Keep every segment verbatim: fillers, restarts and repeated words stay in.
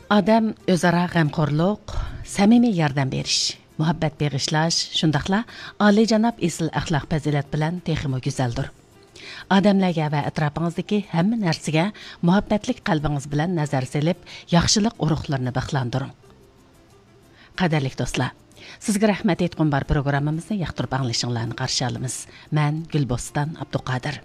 ئادەم ئۆزئارا غەمخورلۇق، سەمىمىي ياردەم بېرىش، مۇھەببەت بېغىشلاش، شۇنداقلا ئالىيجاناب ئېسىل ئەخلاق پەزىلەت بىلەن تېخىمۇ گۈزەلدۇر. ئادەملەرگە ۋە ئەتراپىڭىزدىكى ھەممە نەرسىگە مۇھەببەتلىك قەلبىڭىز بىلەن نەزەر سېلىپ، ياخشىلىق ئۇرۇقلىرىنى بىخلاندۇرۇڭ. قەدىرلىك دوستلار، سىزگە رەھمەت ئېيتقۇم بار پروگراممىمىزنى ياقتۇرۇپ ئاڭلىشىڭلارنى قارشى ئالىمىز. مەن گۈلبوستان ئابدۇقادىر.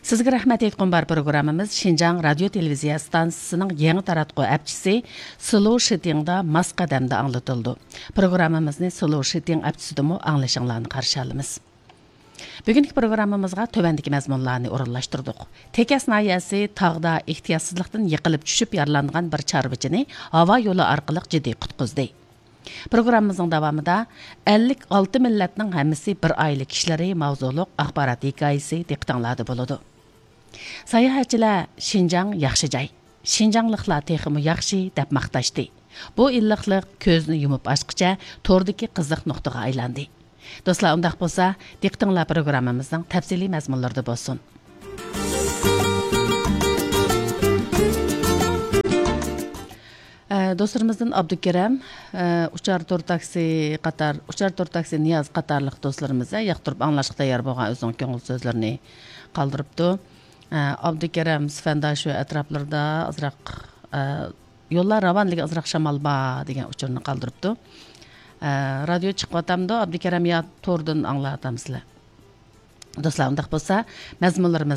سىزگە رەھمەت ئېيتقۇم بار پروگراممىمىز شىنجاڭ رادىيو تېلېۋىزىيە ئىستانسىسىنىڭ يېڭى تاراتقۇ ئەپچىسى سلو شىتىڭدا ماس قەدەمدە ئاڭلىتىلىدۇ. پروگراممىمىزنى سلو شىتىڭ ئەپچىسىدىمۇ ئاڭلىشىڭلارنى قارشى ئالىمىز. بۈگۈنكى پروگراممىمىزغا تۆۋەندىكى مەزمۇنلارنى ئورۇنلاشتۇردۇق. تېكەس ناھىيەسى تاغدا ئېھتىياتسىزلىقتىن يىقىلىپ چۈشۈپ يارىلانغان بىر چارۋىچىنى ھاۋا يولى ئارقىلىق جىددىي قۇتقۇزدى. پروگراممىمىزنىڭ داۋامىدا ئەللىك ئالتە مىللەتنىڭ ھەممىسى بىر ئائىلە كىشىلىرى ماۋزۇلۇق ئاخبارات ھېكايىسى دىققىتىڭلاردا بولىدۇ. ساياھەتچىلەر شىنجاڭ ياخشى جاي، شىنجاڭلىقلار تېخىمۇ ياخشى دەپ ماختاشتى. بۇ ئىللىقلىق كۆزنى يۇمۇپ ئاچقىچە توردىكى قىزىق نۇقتىغا ئايلاندى. دوستلار، ئۇنداق بولسا، دىققىتىڭلار پروگراممىمىزنىڭ تەپسىلىي مەزمۇنلىرىدا بولسۇن. ئە، دوستلىرىمىزدىن ئابدۇكېرەم، ئە، ئۇچار تور تاكسى قاتار، ئۇچار تور تاكسى نىياز قاتارلىق دوستلىرىمىز، ئە، ياقتۇرۇپ ئاڭلاشقا تەييار بولغان ئۆزىنىڭ كۆڭۈل سۆزلىرىنى قالدۇرۇپتۇ. ئە، ئابدۇكېرەم سىفەنداشۇ ئەتراپلىرىدا ئازراق، ئە، يوللار راۋان، لېكىن ئازراق شامال بار دېگەن ئۇچۇرنى قالدۇرۇپتۇ. ئە، رادىيو چىقىۋاتامدۇ، ئابدۇكېرەم، يا توردىن ئاڭلاۋاتامسىلەر؟ دوستلار، ئۇنداق بولسا، مەزمۇنلىرىمىز